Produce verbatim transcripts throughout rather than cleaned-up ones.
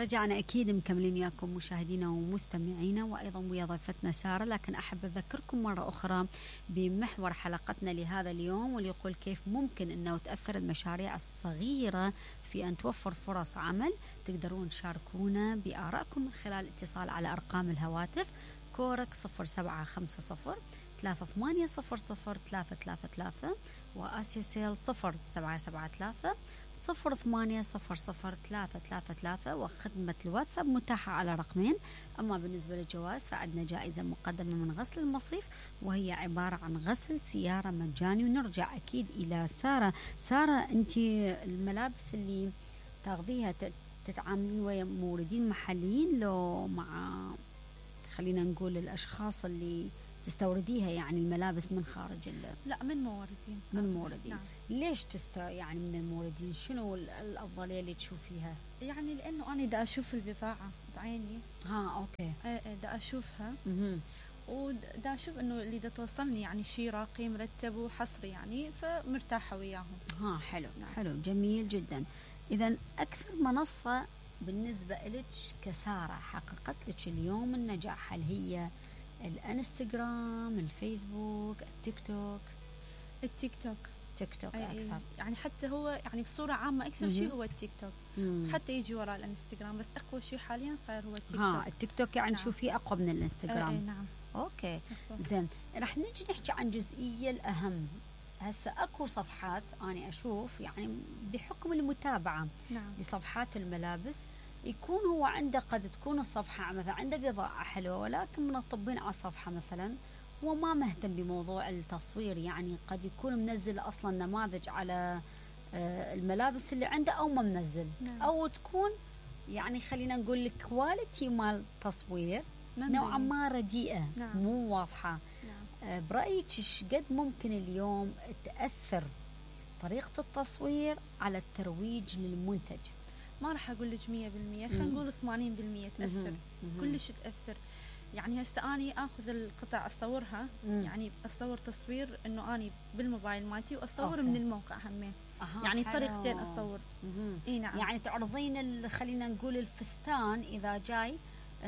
رجعنا أكيد مكملين وياكم مشاهدينا ومستمعينا، وأيضا ويا ضيفتنا سارة. لكن أحب أذكركم مرة أخرى بمحور حلقتنا لهذا اليوم، واللي يقول كيف ممكن أنه تأثر المشاريع الصغيرة في أن توفر فرص عمل. تقدرون تشاركونا بآرائكم من خلال الاتصال على أرقام الهواتف كورك صفر سبعة خمسة صفر ثلاثة ثمانية صفر صفر ثلاثة ثلاثة ثلاثة، وآسيا سيل صفر سبعة سبعة ثلاثة صفر ثمانية صفر صفر ثلاثة ثلاثة ثلاثة، وخدمة الواتساب متاحة على رقمين. أما بالنسبة للجوائز فعندنا جائزة مقدمة من غسل المصيف، وهي عبارة عن غسل سيارة مجاني. ونرجع أكيد إلى سارة. سارة، أنت الملابس اللي تاخذيها تتعاملين ويا موردين محليين لو مع خلينا نقول الأشخاص اللي تستورديها، يعني الملابس من خارج ال... لا، من موردين. من موردين. نعم. ليش تست يعني من الموردين؟ شنو الأفضلية اللي تشوفيها؟ يعني لأنه أنا دا أشوف البضاعة بعيني. ها أوكي. ايه دا أشوفها. اها. ودا أشوف إنه اللي دا توصلني يعني شيء راقي مرتب وحصري، يعني فمرتاحة وياهم. ها حلو. نعم. حلو جميل جدا. إذا أكثر منصة بالنسبة لك كسارة حققت لك اليوم النجاح، هل هي الانستغرام، الفيسبوك، التيك توك؟ التيك توك. تيك توك أكثر. يعني حتى هو يعني بصورة عامة أكثر شيء هو التيك توك. مم. حتى يجي وراء الانستغرام، بس أقوى شيء حاليا صاير هو التيك توك. ها التيك توك يعني نعم. تشوفيه أقوى من الانستغرام. اي نعم. أوكي بالضبط. زين، رح نجي نحكي عن جزئية الأهم. هسه أكو صفحات أنا أشوف يعني بحكم المتابعة نعم. لصفحات الملابس، يكون هو عنده قد تكون الصفحة مثلا عنده بضاعة حلوة، ولكن منطبين على الصفحة مثلا هو ما مهتم بموضوع التصوير. يعني قد يكون منزل أصلا نماذج على الملابس اللي عنده أو ما منزل. نعم. أو تكون يعني خلينا نقول الكواليتي مال التصوير نوعا ما رديئة. نعم. مو واضحة. نعم. برأيك ايش قد ممكن اليوم تأثر طريقة التصوير على الترويج للمنتج؟ ما راح أقول لك مية بالمية، خلينا نقول ثمانين بالمية تأثر. كلش تأثر. يعني هسه أني أخذ القطع أصورها. مم. يعني أصور تصوير إنه أني بالموبايل مالتي، وأصور أوكي. من الموقع همين. يعني طريقتين أصور. إيه نعم. يعني تعرضين خلينا نقول الفستان إذا جاي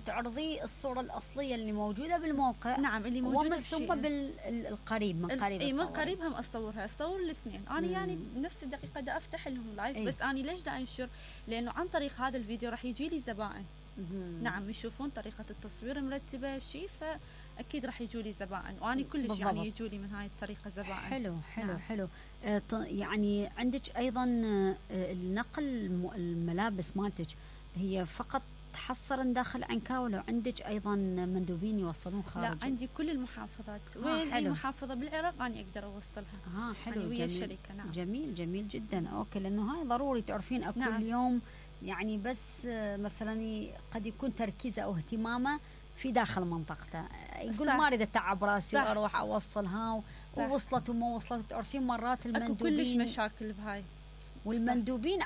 تعرضي الصورة الأصلية اللي موجودة بالموقع. نعم، اللي موجودة ومن ثم بالقريب من قريب اي من قريب هم أصورها، أصور الاثنين. أنا مم. يعني بنفس الدقيقة دا أفتح لهم لايف. بس أنا ليش دا أنشر؟ لأنه عن طريق هذا الفيديو راح يجي لي زبائن. مم. نعم، يشوفون طريقة التصوير مرتبة شيء، فأكيد راح يجوا لي زبائن، وأنا كلش بالضبط. يعني يجوا لي من هاي الطريقة زبائن. حلو حلو. نعم. حلو. آه يعني عندك أيضا آه النقل الملابس مالتك هي فقط حصرا داخل عنكاوي، لو عندك ايضا مندوبين يوصلون خارج؟ لا، عندي كل المحافظات. وين اي محافظه بالعراق انا اقدر اوصلها. ها حلو. يعني جميل. الشركه. نعم. جميل جميل جدا. اوكي، لانه هاي ضروري تعرفين اكو نعم. اليوم يعني بس مثلا قد يكون تركيزه او اهتمامه في داخل منطقته، يقول ما اريد اتعب راسي واروح اوصلها، ووصلت وما وصلت. تعرفين مرات المندوبين اكو كلش مشاكل بهاي، والمندوبين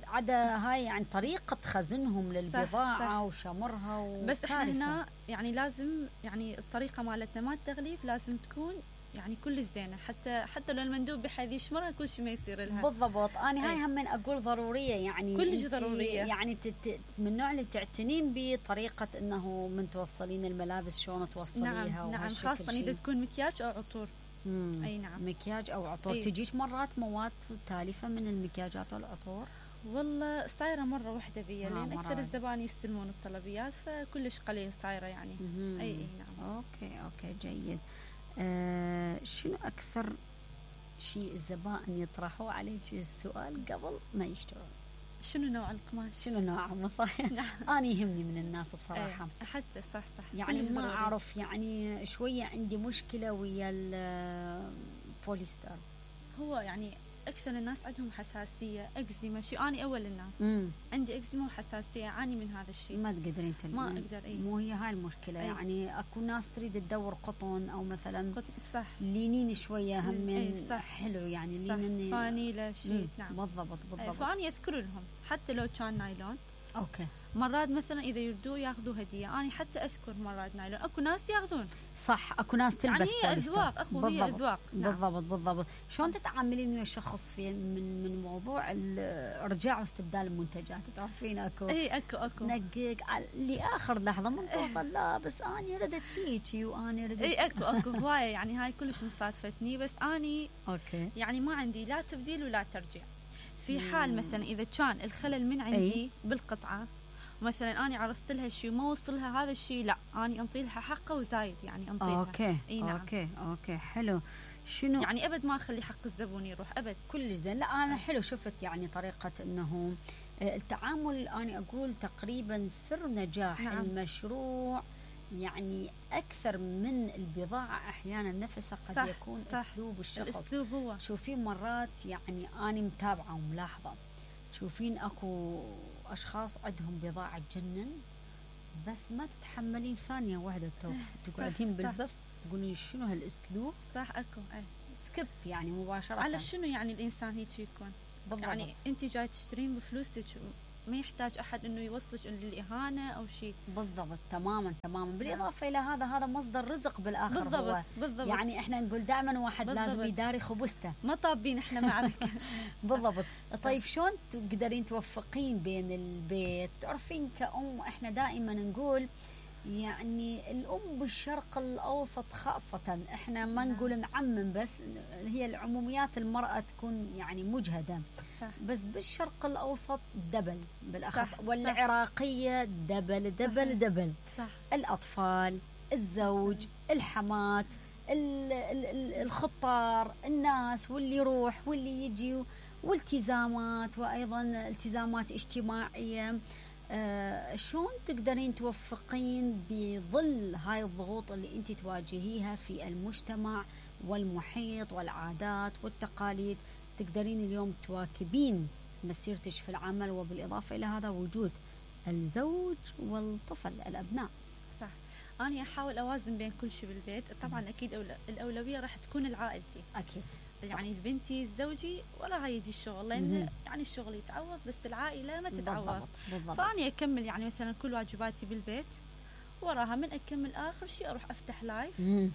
عدا هاي يعني طريقة خزنهم للبضاعة. صح. وشمرها. بس احنا هنا يعني لازم يعني الطريقة مالتنا مال التغليف لازم تكون يعني كل زينة، حتى حتى لو المندوب بحيث يشمرها كل شيء ما يصير لها. بالضبط. أنا هاي هم من أقول ضرورية، يعني كلش ضرورية. يعني تت من النوع اللي تعتنين بطريقة إنه من توصلين الملابس شلون توصليها. نعم نعم، خاصة إذا تكون مكياج أو عطور. مم. أي نعم، مكياج أو عطور. أي. تجيش مرات مواد تالفة من المكياجات والعطور؟ والله صايرة مرة واحدة بيا، لأن أكثر الزبائن يستلمون الطلبيات، فكلش قليل صايرة يعني. مم. أي أي نعم. أوكي أوكي جيد. آه شنو أكثر شيء الزبائن يطرحوا عليك السؤال قبل ما يشترون؟ شنو نوع القماش؟ شنو نوعه؟ صح. أنا يهمني من الناس بصراحة. أيه. حتى صح صح. يعني ما أعرف، يعني شوية عندي مشكلة ويا البوليستر. هو يعني أكثر الناس عندهم حساسية، أكزيما. شو أنا أول الناس مم. عندي أكزيما وحساسية، أعاني من هذا الشيء. ما تقدرين تلين. ما أقدر. أي. مو هي هاي المشكلة. أي. يعني أكو ناس تريد تدور قطن أو مثلا قطن. صح. لينين شوية هم من. أي. صح. حلو يعني صح. لينين فانيلة شيء. نعم بالضبط بالضبط. فأنا يذكر لهم حتى لو كان نايلون اوكي. مرات مثلا اذا يردوا ياخذوا هديه، انا حتى اذكر مرات نايلون اكو ناس ياخذون. صح، اكو ناس تلبس يعني هي اذواق اخو، هي اذواق. نعم. بالضبط بالضبط. شلون تتعاملين ويا شخص في من من موضوع الارجاع واستبدال المنتجات؟ تعرفين اكو اي اكو اكو نقق لاخر لحظه من توصل لا بس اني ردت هيجي واني ردت. اي اكو اكو هوايه يعني هاي كلش مصادفتني، بس اني اوكي يعني ما عندي لا تبديل ولا ترجيع. في حال مثلا اذا كان الخلل من عندي أي؟ بالقطعه، مثلا اني عرضت لها شيء وما وصلها هذا الشيء، لا اني انطي لها حقه وزايد، يعني انطي لها. اوكي اي نعم. اوكي اوكي حلو. شنو يعني ابد ما اخلي حق الزبون يروح ابد. كل زين. لا انا حلو شفت يعني طريقه انه التعامل. انا اقول تقريبا سر نجاح نعم. المشروع يعني اكثر من البضاعه احيانا نفسها قد صح يكون صح اسلوب الشخص. الاسلوب هو. شوفين مرات يعني انا متابعه وملاحظه، تشوفين اكو اشخاص عندهم بضاعه تجنن بس ما تتحملين ثانيه واحده تقعدين بالبث تقولين شنو هالاسلوب. صح اكو اي سكيب يعني مباشره. على شنو يعني الانسان هيك يكون بالضبط. يعني انت جاي تشترين بفلوسك، ما يحتاج احد انه يوصلك للاهانه او شيء. بالضبط تماما تماما. بالاضافه الى هذا هذا مصدر رزق بالاخر. بالضبط هو بالضبط. يعني احنا نقول دائما واحد بالضبط. لازم يداري خبزته، ما طابين احنا معركه. بالضبط. طيب شلون تقدرين توفقين بين البيت؟ تعرفين كأم احنا دائما نقول يعني الأم بالشرق الأوسط خاصة، احنا ما نقول نعمم بس هي العموميات، المرأة تكون يعني مجهدة صح. بس بالشرق الأوسط دبل بالأخص صح. والعراقية دبل دبل صح. دبل صح. الأطفال، الزوج، الحمات، الخطار، الناس واللي يروح واللي يجي، والتزامات وأيضا التزامات اجتماعية. آه شلون تقدرين توفقين بظل هاي الضغوط اللي انت تواجهيها في المجتمع والمحيط والعادات والتقاليد، تقدرين اليوم تواكبين مسيرتك في العمل وبالإضافة إلى هذا وجود الزوج والطفل الأبناء؟ صح. أنا أحاول أوازن بين كل شيء بالبيت. طبعا أكيد أولى الأولوية راح تكون لعائلتي أكيد يعني بنتي زوجي وراها يجي الشغل، لأن يعني الشغل يتعوض بس العائلة ما تتعوض. بالضبط. بالضبط. فأني أكمل يعني مثلا كل واجباتي بالبيت، وراها من أكمل آخر شيء أروح أفتح لايف. مم.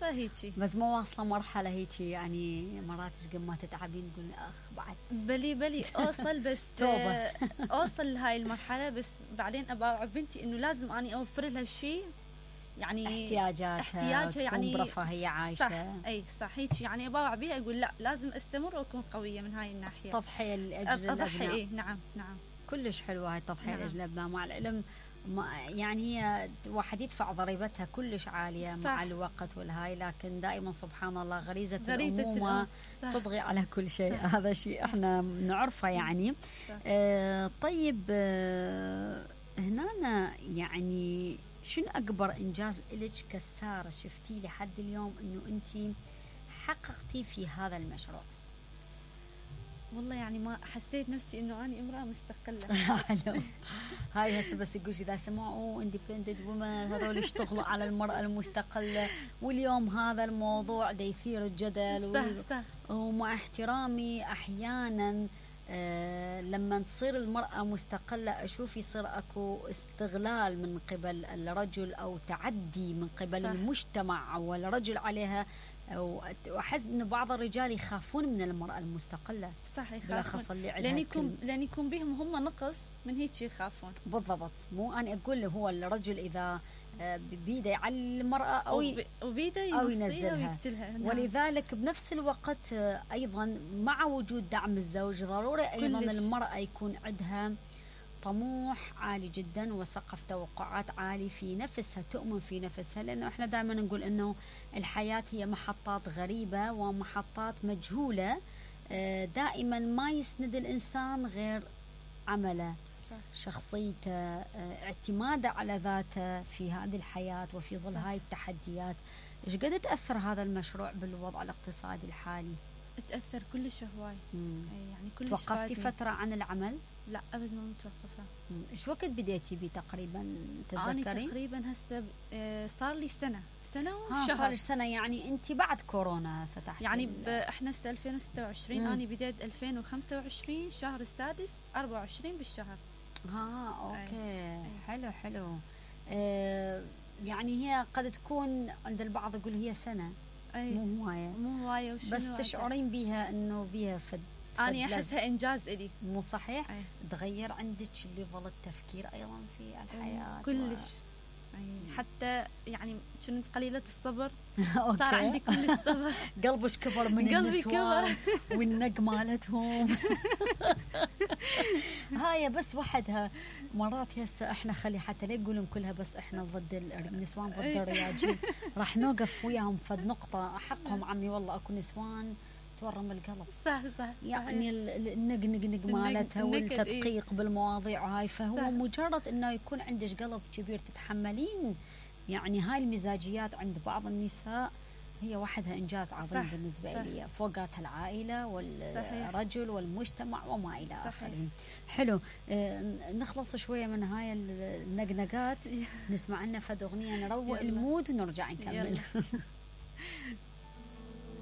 فهيجي بس ما واصلة مرحلة هيجي يعني مرات قبل ما تتعبين تقول أخ بعد بلي بلي أوصل بس توبة. أوصل لهاي المرحلة بس بعدين أبغى بنتي إنه لازم أني أوفر لها الشيء يعني احتياجاتها احتياجها يعني برفاهية عايشة. صح. اي صح هيك يعني ابغى بيها اقول لا لازم استمر واكون قوية من هاي الناحية. تضحية لاجل الابناء. اي نعم نعم كلش حلوة هاي التضحية نعم. لاجل الابناء. مع العلم يعني هي واحد يدفع ضريبتها كلش عالية صح. مع الوقت والهاي، لكن دائما سبحان الله غريزة, غريزة الأمومة تطغي على كل شيء. هذا شيء احنا نعرفه يعني. آه طيب آه هنا يعني شنو أكبر إنجاز إلك كسارة شفتي لحد اليوم إنه أنتي حققتي في هذا المشروع؟ والله يعني ما حسيت نفسي إنه أنا امرأة مستقلة. هاي هسه بس يقول إذا سمعوا اندبندنت وومن هذول يشتغلوا على المرأة المستقلة، واليوم هذا الموضوع دا يثير الجدل. صح صح. ومع احترامي أحيانا آه لما تصير المرأة مستقلة أشوف يصير أكو استغلال من قبل الرجل أو تعدي من قبل صح. المجتمع أو الرجل عليها، وأحس أن بعض الرجال يخافون من المرأة المستقلة. صح يخافون بالأخص اللي عندها لأن يكون لأن يكون بهم هم نقص من هيك يخافون. بالضبط. مو أنا أقول له هو الرجل إذا بيده يعلي المرأة أو وبيده أو ينزلها. نعم. ولذلك بنفس الوقت أيضا مع وجود دعم الزوج ضروري أيضا كلش. المرأة يكون عندها طموح عالي جدا وسقف توقعات عالي في نفسها، تؤمن في نفسها، لأنه احنا دائما نقول أنه الحياة هي محطات غريبة ومحطات مجهولة. دائما ما يسند الإنسان غير عمله، شخصيته، اعتماده على ذاته في هذه الحياة وفي ظل هاي التحديات. ايش قد تأثر هذا المشروع بالوضع الاقتصادي الحالي؟ تأثر كلش هواي. يعني كلش. توقفتي فترة عن العمل؟ لا أبد ما متوقفة. ايش وقت بديتي بيه تقريبا تتذكرين؟ أنا تقريبا هسه صار لي سنة سنة وشهر. صار لي سنة يعني أنت بعد كورونا فتحتي يعني احنا هسه ألفين وستة وعشرين. أنا بديت ألفين وخمسة وعشرين شهر السادس أربعة وعشرين بالشهر. ها اوكي. أي. حلو حلو. آه يعني هي قد تكون عند البعض يقول هي سنه. أي. مو هوايه مو هوايه بس تشعرين بيها انه بيها فد أنا أحسها إنجاز إلي. مو صحيح؟ أي. تغير عندك ليفل التفكير أيضا في الحياة كلش و... حتى يعني كنت قليلة الصبر صار عندي كل الصبر. قلبش كبر من النسوان والنق مالتهم. هاي بس وحدها مرات هسه احنا خلي حتى لا يقولون كلها بس احنا ضد النسوان ضد الرياجيل، راح نوقف وياهم فد نقطة حقهم عمي والله اكو نسوان تورم القلب. صح صح يعني النق نق نق مالتها والتدقيق إيه؟ بالمواضيع هاي، فهو صح. مجرد انه يكون عندك قلب كبير تتحملين يعني هاي المزاجيات عند بعض النساء هي وحدها انجاز عظيم صح. بالنسبه لي فوقاتها العائله والرجل صحيح. والمجتمع وما الى اخره. حلو. آه نخلص شويه من هاي النقنقات نسمع لنا فد اغنيه نروق المود ونرجع نكمل.